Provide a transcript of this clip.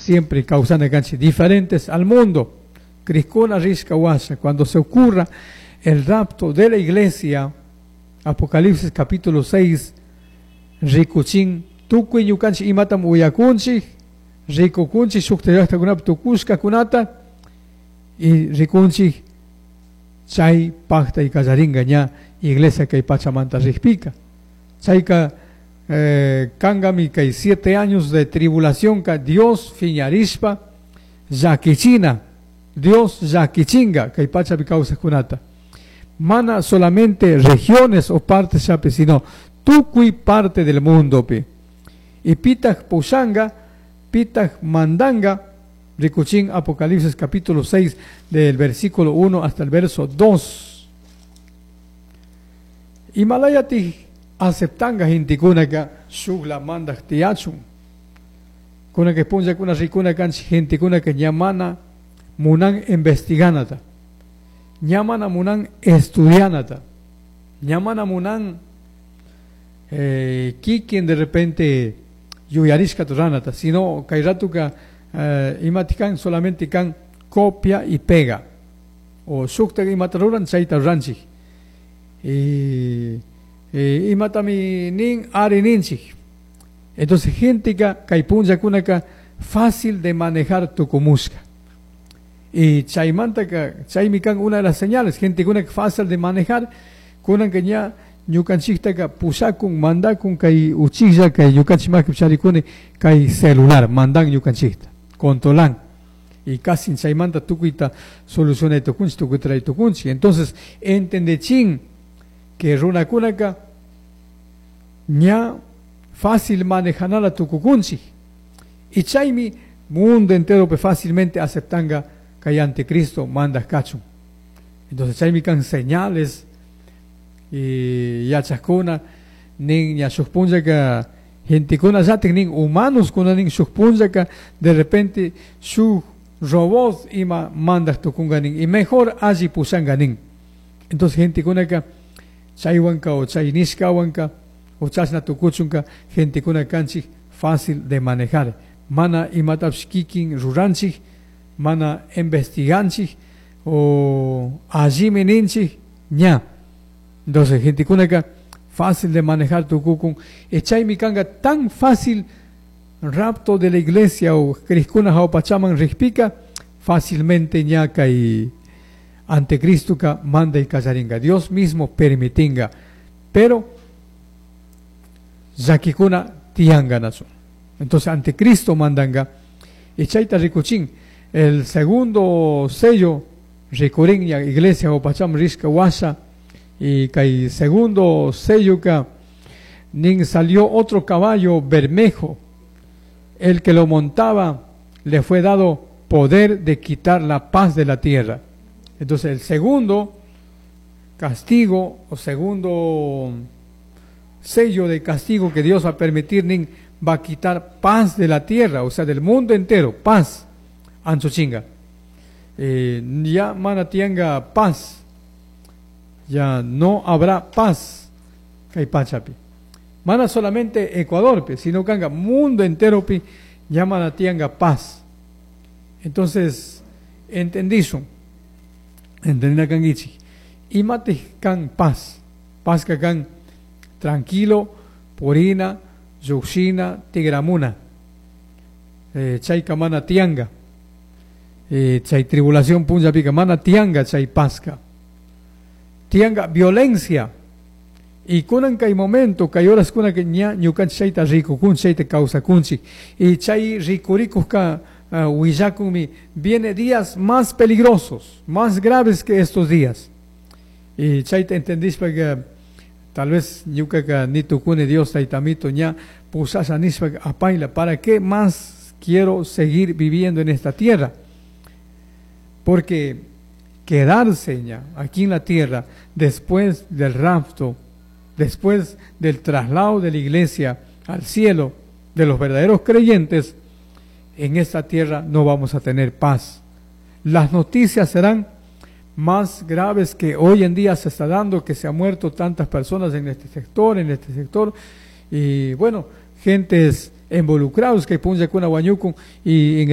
Siempre kawsana kanchik diferentes al mundo. Crikkuna rishka washa, cuando se ocurra el rapto de la iglesia, Apocalipsis capítulo 6, rikuchin tukuy ñukanchik imatam uyakunchik, rikukunchik shukta llaktakunapi tukushkakunata y rikunchik chay paktay kallaringa ña iglesia kay pachamanta rikpika. Chayka kangami kay 7 años de tribulación ka Dios fiñarishpa llakichina, Dios llakichinga kay pachapi kawsaqkunata. Mana solamente regiones o partes llapi, sino tukuy parte del mundo pi. Y pitaq pushanga, pitaq mandanga, rikuchin Apocalipsis capítulo 6 del versículo 1 hasta el verso 2. Imalayati aceptanga gentekunaka shukla mandaj tiyachun. Kunaka punllakuna rikuna kanchik gentekunaka ña mana munan investiganata. Ña mana munan estudianata. Ña mana munan kikin de repente yuyarishkata ruranata, sino kay ratuka imati kan solamente kan copia y pega. O shukta imata ruran chayta ruranchik. Y imatami nin ari ninchik. Entonces genteka kay punllakunaka fácil de manejar tukumushka. Y chaymantaka chaymi kan una de las señales, gentekunaka fácil de manejar, kunanka ña ñukanchiktaka pushakun, mandakun kay uchilla kay ñukanchik makipi charikuni kay celular mandan ñukanchikta, controlan. Y casi chaymanta tukuyta solucionay tukunchik, tukuyta ruray tukunchik. Entonces, entendechin que runakunaka ña fácil manejanala tukukunchik. Y chaymi mundo entero pe fácilmente aceptanga kay anticristo mandaj kachun. Entonces chaymi kan señales y yachakuna nin ña shuk punllaka gentekuna llatik nin humanos kuna nin shuk punllaka de repente shuk robot ima mandaj tukunga nin y mejor alli pushanga nin. Entonces gentekunaka chaywanka o chay nishkawanka o chashna tukuchunka gentekuna kanchik fácil de manejar. Mana imatapish kikin ruranchik, mana investiganchik o allimi ninchik ña. Entonces gentekunaka fácil de manejar tukukun. Y chaymi kanga tan fácil rapto de la iglesia o crikkuna jawpachaman rikpika fácilmente ña kay anticristo ka manday kallaringa. Dios mismo permitinga. Pero llakikuna tiyanga nachu. Entonces anticristo mandanga. Y chayta rikuchin el segundo sello rikurin ña iglesia jawpachaman rishka washa y kay segundo sello ka nin salió otro caballo bermejo. El que lo montaba le fue dado poder de quitar la paz de la tierra. Entonces el segundo castigo o segundo sello de castigo que Dios va a permitir nin va a quitar paz de la tierra, o sea, del mundo entero, paz, anchuchinga. Ya mana tianga paz, ya no habrá paz, kay pachapi. Mana solamente Ecuador, pi, sino kanga mundo entero pi, ya mana tianga paz. Entonces, entendizo, entendina kangichi. Imati kan paz, paz ka kan tranquilo, purina, llukshina, tigramuna. Chayka mana tianga. Chay tribulación punllapika mana tianga chay pazka. Tianga violencia. Y kunan kay momento, kay horas kuna que ña ñukanchik chayta rikukun, chayta kawsakunchik. Y chay rikurikuqka willakunmi, viene días más peligrosos, más graves que estos días. Y chayta entendishpa que tal vez ñukaka ni tukuni Dios taytamito ña pushasha nishpa apayla, ¿para qué más quiero seguir viviendo en esta tierra? Porque quedarse ña aquí en la tierra después del rapto, después del traslado de la iglesia al cielo de los verdaderos creyentes, en esta tierra no vamos a tener paz. Las noticias serán más graves que hoy en día se está dando, que se han muerto tantas personas en este sector, y bueno, gentes involucrados que punllakuna wañukun y en